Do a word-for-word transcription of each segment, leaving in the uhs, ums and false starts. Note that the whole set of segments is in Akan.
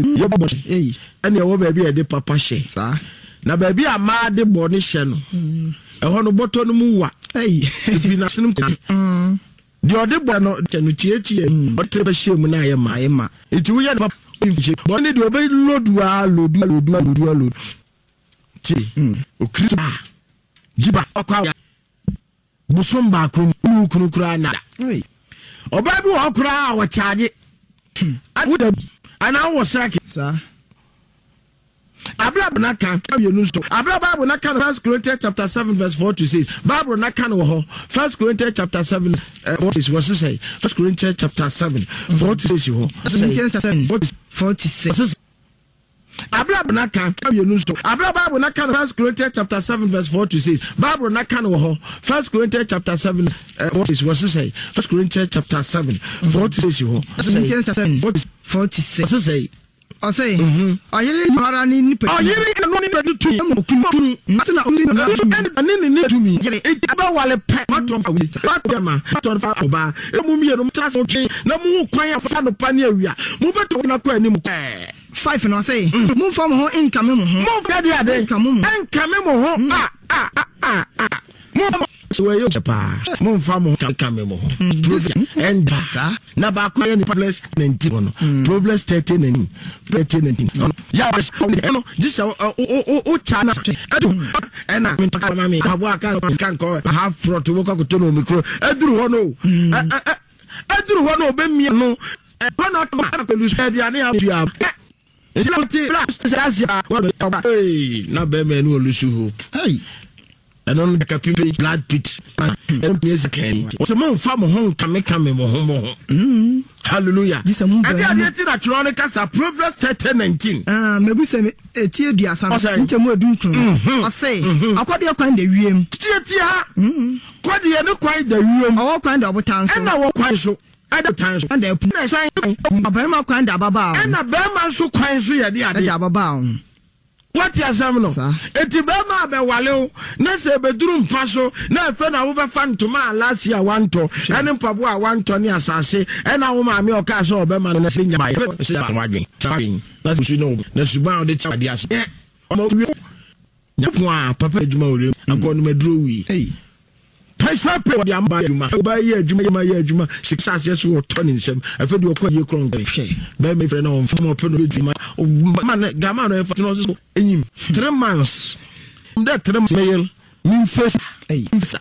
Yɛbɔ ɛne ɛwɔ baabi a yɛde papa hyɛ Saa. Na baabi a maa de bɔne hyɛ no, ɛhɔ no bɔtɔ no mu wa ɛfiri n'asenem. Deɛ ɔde bɔ no kyɛ no tietie, ɔde tere bɛhyɛ mu na ayɛ ma. Ayɛ ma. Nti woyɛ no papa bɔne ne deɛ ɔbɛ lodu a, lodu a, lodu a, lodu a, lodu tie okiri a gyiba ɔkɔ a bosom baako mu ne wo kunu koraa nada. Ei. Ɔbaa bi wɔ hɔ koraa a wɔkyaagye woda anaa wowɔ sɛke. Saa. Abira na ka mmienu nso abira Bible na ka no, First Corinthians chapter seven verse four to six. Bible na ka no wɔ hɔ, First Corinthians chapter seven four to six. Wɔ sisɛ First Corinthians chapter seven four to six hɔ. Corinthians chapter seven four to four to six. Sisɛ abira na ka mmienu nso abira Bible na ka no, First Corinthians chapter seven verse four to six. Bible na ka no wɔ hɔ, First Corinthians chapter seven four to six. Wɔ sisɛ First Corinthians chapter seven four to six hɔ. Corinthians chapter seven four to four to six. Wɔ sisɛ. Ɔsɛ ɔyere ara ne nipa. Ɔyere ɛno ne nipa tumi. Ɛma okunu kunu. Na so na ɔne ne ɛne ne ne tumi yere eti abɛwale pɛ watɔ fa wi watɔ ma watɔ fa ɔbaa emu mmienu mo tena se twe na mo hu kwan afa no pa ne awia mo bɛ to na kɔ anim kɔɛ. Five na ɔsɛ momfa mo ho nkame mo ho. Mo fa de ade. Nkame mo. Nkame mo ho a a a a a mo fa mo wɔ yɛ paa, mo nfa mo ho nkame mo ho. Proverbs ɛnda. Saa. Na baako yɛ ne Proverbs nineteen hɔ no, Proverbs thirty nineteen, thirty nineteen yà ɛno gye sɛ o o o o kya na ɛdu ɛna mi ma mi abo aka ka nkɔ half plot wo kɔ koto na omi kuro ɛduru hɔ no ɛ ɛ ɛduru hɔ no ɔbɛ mia no ɛhɔ na ɔtɔ akɔlu aduane a tua ɛ nti na ti bla sɛ asia wɔn ɔba ee na bɛrima ɛni olusu hope. Ei. Ɛno no daka pimpe blood pit ɛno mi esi kɛn wɔsɛ mo nfa mo ho nkame kame mo ho mo ho. Hallelujah. Gye sɛ mo ɛdi bɛn adeɛ ti na twerɛ ne kasa, Proverbs thirty nineteen. Ah, mebu sɛ me- eti aduasa no Ɔsɛ. nkyɛ mu edu nkron. Ɔsɛ akɔdeɛ kwan da wiem. Tietie ha, kɔdeɛ ne kwan da wiem. Ɔwɔ kwan da ɔbotan so. Ɛna wɔ kwan so ɛda tan so. Ɛda apu. Ɛna ɛsan ɔbarima kwan da ababaawa ho. Ɛna bɛrima nso kwan so yɛ de ɛda adeɛ. Ababaawa ho. Wɔte asɛm no? Saa. Eti bɛrima a bɛwale wo na sɛ ebeduru mpa so na ɛfɛ na wobɛfa ntoma a last year wantɔ ɛne mpaboa a wantɔ ne asase ɛna wo maame a ɔkaa sɛ ɔbɛma no na sɛ nya bayɛ sɛ wadwen na su ne wo na suban a ɔde te adeɛ ase ɛ ɔma wie nyapɔn a papa adwuma wɔ wiem akɔ no maduro wie. Ei. Pɛsɛ pɛ wɔde ama adwuma, ɔbaa yɛ adwuma yɛ ma yɛ adwuma sika aseɛ so wɔtɔ ne nsam afɛ deɛ ɔkɔ yie korɔ nkɛ bɛrima efirɛ na ɔnfa ma ɔpɛ no ɔbɛdwuma ma ne gama no ɛfa tena ɔso enyim three months dɛ three months mɛyɛ mi nfɛ. Ei. Nfɛ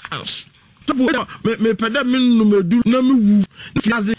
sɔfo me mepɛ dɛ me nnum edu na me wu na fi ase.